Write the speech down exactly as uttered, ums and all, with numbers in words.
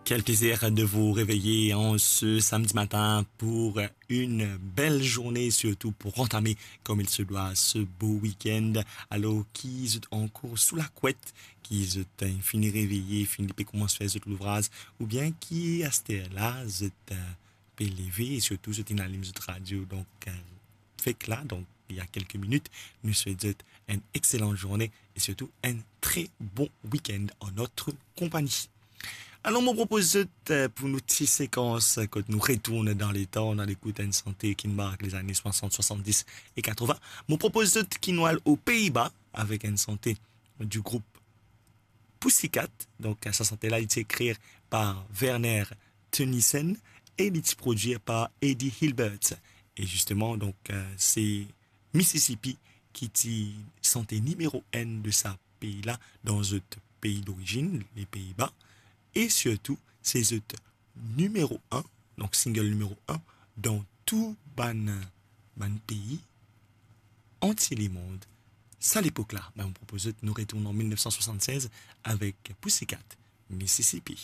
Quel plaisir de vous réveiller en ce samedi matin pour une belle journée, surtout pour entamer comme il se doit ce beau week-end. Alors, ki zot ankor sou lakwet, ki zot, euh, fini reveye, fini pe koumans fer zot louvraz, oubien ki aster la zot, euh, pe leve e sirtou zot inn alim zot radio. Donk, euh, fek la, donk, il y a quelques minutes, nou swet zot enn exselan zourne e sirtou enn tre bon week-end en notre compagnie. Alor, mo propoz zot, euh, pou nou ti sekans, euh, kot nou retourn dan letan, nou al ekout enn sante ki mark lezane swasant, swasanndiz e katrovin. Mo propoz zot ki nou al o Pei-Ba avek enn sante du group Pussycat. Donk, sa sante la, li ti ekrir par Werner Theunissen e li ti prodwir par Eddie Hilbert. E zisteman, donk, euh, se Mississippi ki ti sante nimero enn de sa pei la, dan zot pei dorizinn, le Pei-Ba, e sirtou, se zot nimero enn, donk single nimero enn, dan tou bann, bann pei antie lemond. Sa lepok la, ben, mo propoz zot nou retourn an mil nef san swasanndiz avek Pussycat, Mississippi.